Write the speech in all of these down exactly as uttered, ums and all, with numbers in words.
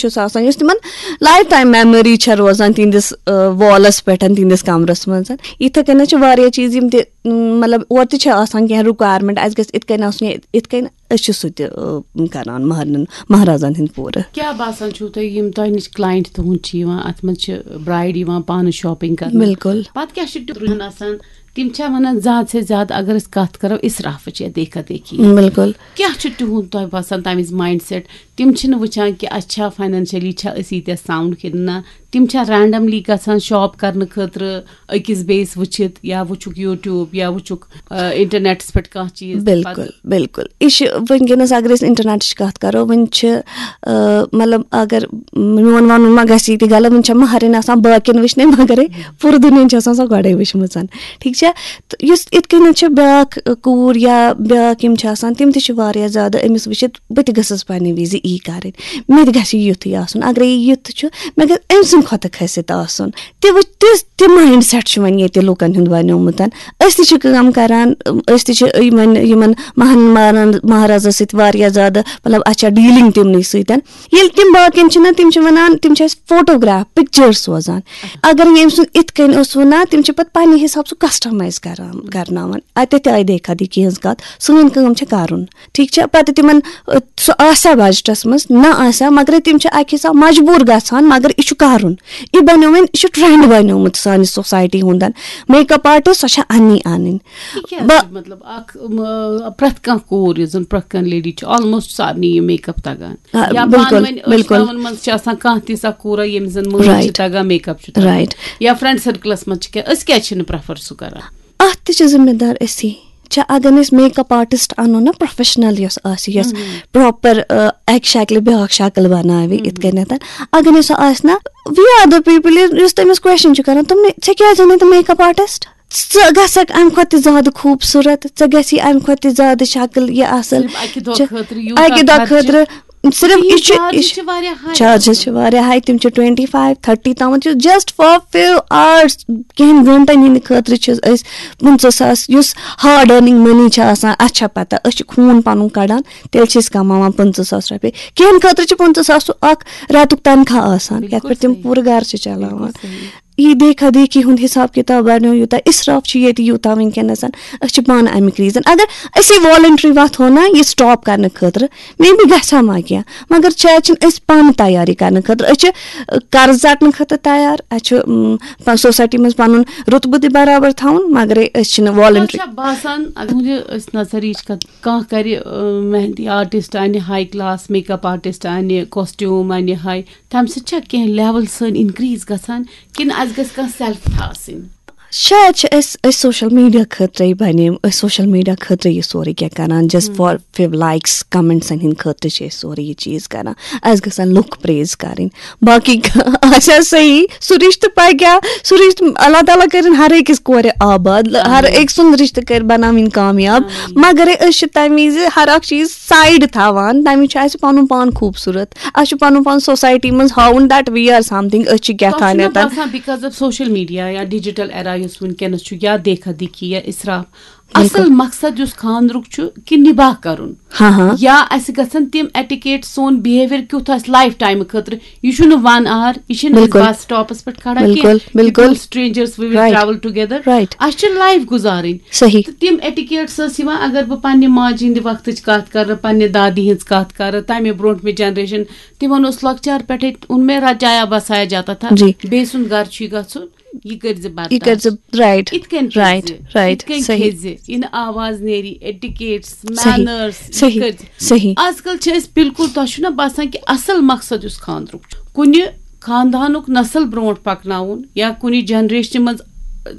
چھُس آسان، یُس تِمن لایف ٹایم میموری چھےٚ روزان تِہنٛدِس، آ، والس پٮ۪ٹھ، تِہنٛدِس کمرس منٛز۔ یِتھے کٔنۍ چھِ واریاہ چیٖز یِم تہِ، م، مطلب، اورٕ تہِ چھِ آسان کینٛہہ رِکویرمنٹ، اَسہِ گژھِ یِتھ کٔنۍ آسُن یا یِتھ کٔنۍ، أسۍ چھِ سُہ تہِ، آ، کران مہرنٮ۪ن مہرازن ہِنٛد پوٗرٕ۔ کیٛاہ باسان چھُو تۄہہِ، یِم تۄہہِ نِش کلاینٹ تُہُنٛد چھِ یِوان، اَتھ منٛز چھِ برایڈ یِوان پانہٕ شاپِنگ کرنہٕ؟ بِلکُل۔ پتہٕ کیٛاہ چھِ ٹیوٗرن آسان؟ تِم چھا ونان زیادٕ سے زیادٕ اگر أسۍ کتھ کرو اسرافٕچ یا دیکھا دیکھی؟ بِلکُل۔ کیٛاہ چھُ تِہُنٛد تۄہہِ باسان تَمہِ وِزِ ماینڈ سیٹ؟ تِم چھِنہٕ وٕچھان کہِ اَسہِ چھا فاینانشلی چھا أسۍ ییٖتیٛاہ ساوُنٛڈ کِنہٕ نہ؟ تِم چھا رینڈملی گژھان شاپ کرنہٕ خٲطرٕ أکِس بیٚیِس وٕچھِتھ، یا وٕچھُکھ یوٗٹیوٗب، یا وٕچھُکھ، آ، انٹرنیٹس پٮ۪ٹھ کانٛہہ چیٖز؟ بِلکُل، بِلکُل۔ یہِ چھِ وٕنکیٚنَس، اگر أسۍ انٹرنیٹٕچ کَتھ کَرو، وٕنہِ چھِ، آ، مطلب، اگر میون وَنُن ما گژھِ یہِ تہِ غلط، وٕنہِ چھےٚ مہرِنۍ آسان باقین وٕچھنَے، مگرے پوٗرٕ دُنیاہَن چھِ آسان سۄ گۄڈَے وٕچھمٕژ۔ ٹھیٖک چھا؟ تہٕ یُس یِتھ کٔنٮ۪تھ چھِ بیٛاکھ، آ، کوٗر یا بیٛاکھ یِم چھِ آسان، تِم تہِ چھِ واریاہ زیادٕ أمِس وٕچھِتھ، بہٕ تہِ گٔژھٕس پنٛنہِ وِزِ یی کَرٕنۍ، مےٚ تہِ گژھِ یُتھُے آسُن۔ اگرے یہِ یُتھ چھُ، مےٚ گژھِ أمۍ سٕنٛدِ کھۄتہٕ کھٔسِتھ آسُن۔ تہِ وٕچھ، تہِ، تہِ ماینڈ سیٹ چھُ وۄنۍ ییٚتہِ لُکَن ہُنٛد بنیومُت۔ أسۍ تہِ چھِ کٲم کَران، أسۍ تہِ چھِ یِمَن، یِمَن مہن-، مہرن-، مہرازَس سۭتۍ واریاہ زیادٕ، مطلب، اَسہِ چھےٚ ڈیٖلِنٛگ تِمنٕے سۭتۍ۔ ییٚلہِ تِم باقین چھِنہ، تِم چھِ وَنان، تِم چھِ اَسہِ فوٹوگراف، پِکچٲرٕس سوزان۔ اگر ییٚمۍ سُنٛد اِتھ کٔنۍ اوس وَنان، تِم چھِ پَتہٕ پَنٕنہِ حِساب سُہ کَسٹمایز کَران، کَرناوان۔ اَتٮ۪تھ تہِ آیہِ دیکھا دیکھی ہٕنٛز کَتھ، سٲنۍ کٲم چھےٚ کَرُن۔ ٹھیٖک چھا؟ پَتہٕ تِمَن، اَ، سُہ آسیا بجٹَس منٛز، نہ آسیا، مگر تِم چھِ اَکہِ حِساب مجبوٗر گژھان، مگر یہِ چھُ کَرُن۔ یہِ بَنیو وۄنۍ، یہِ چھُ ٹرٛینٛڈ بَنیومُت سانہِ سوسایٹی ہُنٛد۔ میک اپ آرٹِسٹ، سۄ چھےٚ اَننی اَنٕنۍ۔ یہِ کیٛاہ بہ- چھُ، مطلب، اکھ، م، پرٛٮ۪تھ کانٛہہ کوٗر یۄس زَن پرٛٮ۪تھ کانٛہہ لیڈی چھِ، آلموسٹ سارنٕے یہِ میک اپ تَگان۔ آ، یا بِلکُل، پانہٕ ؤنۍ بِلکُل۔ ٲشناوَن منٛز چھِ آسان کانٛہہ تِژھ اکھ کوٗرا ییٚمِس زَن مٲلۍ چھِ رائٹ۔ تَگان، میک اپ چھُ تَگان۔ رائٹ۔ یا فرینڈ سرکلَس منٛز چھِ کیٛاہ، أسۍ کیٛازِ چھِنہٕ پریفر سُہ کران؟ اَتھ تہِ چھِ ذمہ دار أسی۔ چھا، اگر نہٕ أسۍ میک اپ آرٹسٹ اَنو نا، پروفیشنل یۄس آسہِ، یۄس پراپر، آ، اکہِ شکلہِ بیٛاکھ شکل بناوِ، یِتھ کٔنٮ۪تھ۔ اگر نہٕ سُہ آسہِ نا، we are the people، یُس تٔمِس کوسچن چھُ کران، تِم، "ژےٚ کیٛازِ اوٚنُے تہٕ میک اپ آرٹسٹ؟ ژٕ گژھکھ امہِ کھۄتہٕ تہِ زیادٕ خوٗبصوٗرت، ژےٚ گژھی امہِ کھۄتہٕ تہِ زیادٕ شکل یہِ اصل۔" صرف اکہِ دۄہ ژےٚ خٲطرٕ یوٗتاہ اکہِ دۄہ خرچہٕ۔ خٲطرٕ صرف یہِ تِہِنٛدۍ چھُ، یہِ چارجز چھِ، چھِ واریاہ ہاے۔ چارجز چھِ واریاہ ہاے، تِم چھِ twenty five thirty تامَتھ، چھِ just for few hours، کینٛہَن گھنٹَن ہِنٛدِ خٲطرٕ چھِ أسۍ پٕنٛژٕہ ساس، یُس ہارڈ ارننگ منی چھِ آسان، اَسہِ چھےٚ پَتہ، أسۍ چھِ خوٗن پَنُن کَڑان، تیٚلہِ چھِ أسۍ کَماوان پٕنٛژٕہ ساس رۄپیہِ۔ کینٛہَن خٲطرٕ چھِ پٕنٛژٕہ ساس سُہ اَکھ رٮ۪تُک تنخواہ آسان، یَتھ بِلکُل پٮ۪ٹھ تِم صحیح۔ پوٗرٕ گَرٕ چھِ چَلاوان۔ بِلکُل صحیح۔ یہِ دیکھا دیکھی ہُنٛد حِساب کِتاب بڑنو یوٗتاہ، اِسراف چھُ ییٚتہِ یوٗتاہ وٕنکیٚنَس۔ أسۍ چھِ پانہٕ اَمیُک ریٖزن۔ اگر أسی والنٹری وۄتھو نا یہِ سٹاپ کرنہٕ خٲطرٕ، مے بی گژھِ ہا ما کینٛہہ، مگر شاید چھِنہٕ أسۍ پانہٕ تیاری کرنہٕ خٲطرٕ۔ أسۍ چھِ، ٲ، قرض ژٹنہٕ خٲطرٕ تیار، اَسہِ چھُ، ٲم، پَ-، سوسایٹی منٛز پَنُن رُتبہٕ تہِ برابر تھاوُن، مگرے أسۍ چھِنہٕ تۄہہِ والنٹری۔ چھا باسان، اگر تُہنٛدِ أسۍ نظر یِچ کتھ، کانٛہہ کرِ، ٲ، مہندی آرٹسٹ انہِ ہاے کلاس، میک اپ آرٹسٹ انہِ، کاسٹیوم انہِ ہاے، تَمہِ سۭتۍ چھا کینٛہہ لیول سٲنۍ انکریز گژھان، کِنہٕ اَسہِ گژھِ کانٛہہ سیلف تھاوٕنۍ؟ شاید چھِ أسۍ، أسۍ سوشل میڈیا خٲطرَے بنے، أسۍ سوشل میڈیا خٲطرَے یہِ سورُے کینٛہہ کران، just for few likes، comments ہِنٛدۍ خٲطرٕ چھِ أسۍ سورُے یہِ چیٖز کران۔ اَسہِ گژھن لُکھ پریز کرٕنۍ، باقٕے آسہِ ہا صحیح، سُہ رِشتہٕ پَکہِ ہا، سُہ رِشتہٕ، اللہ تعالیٰ کٔرِن ہر أکِس کورِ آباد، ہر آمیٖن۔ أکۍ سُنٛد رِشتہٕ کٔرۍ بناوٕنۍ کامیاب۔ آمیٖن۔ مگر أسۍ چھِ تَمہِ وِزِ ہر اکھ چیٖز سایڈ تھاوان، تَمہِ وِزِ چھُ اَسہِ پَنُن پان خوٗبصوٗرت۔ اَسہِ چھُ پَنُن پان سوسایٹی منٛز ہاوُن that we are something، أسۍ چھِ کیٛاہ تۄہہِ چھُنہ تانٮ۪تھ۔ باسان because of social media یا digital era یُس وٕنکیٚنَس چھُ، یا دیکھا دیکھی یا اسراف، بِلکُل۔ اصل مقصد یُس خانٛدرُک چھُ کہِ نباہ کرُن؟ ہاں، ہاں۔ یا اَسہِ گژھن تِم ایٹیکیٹ، سون بِہیویئر کیُتھ آسہِ لایف ٹایمہٕ خٲطرٕ؟ یہِ چھُنہٕ ون آور، یہِ چھِنہٕ أسۍ بِلکُل۔ بس سٹاپس پٮ۪ٹھ کھڑا بِلکُل، کینٛہہ، بِلکُل۔ Strangerس we will right. Travel together۔ Right. اَسہِ چھِ لایف گُزارٕنۍ۔ صحیح۔ تہٕ تِم ایٹیکیٹس ٲسۍ یِوان، اگر بہٕ پننہِ ماجہِ ہِنٛدِ وقتٕچ کتھ کرٕ، پننہِ دادی ہِنٛز کتھ کرٕ، تمہِ برونٛٹھ مےٚ جنریشن، تِمن اوس لۄکچار پٮ۪ٹھے اوٚن مےٚ رچایا بسایا جاتا تھا، جی۔ بیٚیہِ سُنٛد گرٕ چھُے گژھُن، یہِ کٔرۍ زِ یہِ کٔرۍ زِ، برداش۔ رائٹ۔ یِتھ کٔنۍ پٔکۍ رائٹ، زِ، رائٹ، یِتھ کٔنۍ صحیح۔ کھیٚیہِ زِ، یہِ نہٕ آواز نیری، ایٹیکیٹس، صحیح، مینرس، یہِ صحیح، کٔرۍ زِ۔ صحیح۔ آز کل چھِ أسۍ بالکل، تۄہہِ چھُنہ باسان کہِ اصل مقصد یُس خانٛدرُک چھُ، کُنہِ خاندانُک نسل برونٛٹھ پکناوُن یا کُنہِ جنریشنہِ منٛز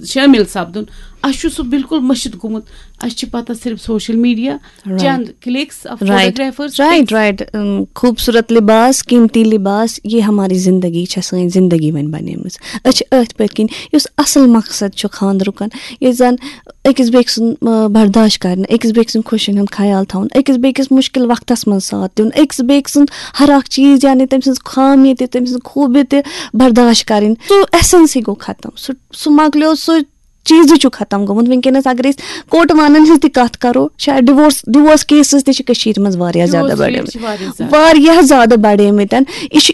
شٲمِل سپدُن، اسہِ چھُ سُہ بالکل مٔشِتھ گوٚمُت۔ اسہِ چھِ پتہ صرف social media, right. Chand clicks of right. Photographers, right, right. ام، خوٗبصوٗرت لباس، قیمتی لباس، یہ ہماری زندگی چھےٚ، سٲنۍ زندگی وۄنۍ بنیمٕژ۔ أسۍ چھِ أتھۍ پٔتۍ کِنۍ، یُس اصل مقصد چھُ خانٛدرُکن، ییٚلہِ زن أکِس بیٚکہِ سُنٛد، آ، برداش کرنہٕ، أکِس بیٚکہِ سٕنٛدۍ خوشین ہُنٛد خیال تھاوُن، أکِس بیٚکِس مُشکِل وقتس منٛز ساتھ دیُن، أکِس بیٚکہِ سُنٛد ہر اکھ چیٖز، یعنی تٔمۍ سٕنٛز خامی تہِ، تٔمۍ سٕنٛز خوٗبی تہِ برداش کرٕنۍ۔ سُہ ایسنسٕے گوٚو ختم، سُہ، سُہ مۄکلیو، سُہ چیٖزٕے چھُ ختم گوٚمُت۔ وٕنکیٚنَس اگر أسۍ کوٹہٕ وانَن ہٕنٛز تہِ کَتھ کَرو، شاید ڈِوورس، ڈِوورس کیسز تہِ چھِ کٔشیٖرِ منٛز واریاہ زیادٕ ڈِوورس ریٹ بڑیمٕتۍ۔ چھِ واریاہ زیادٕ۔ واریاہ زیادٕ بڑیمٕتۍ۔ یہِ چھُ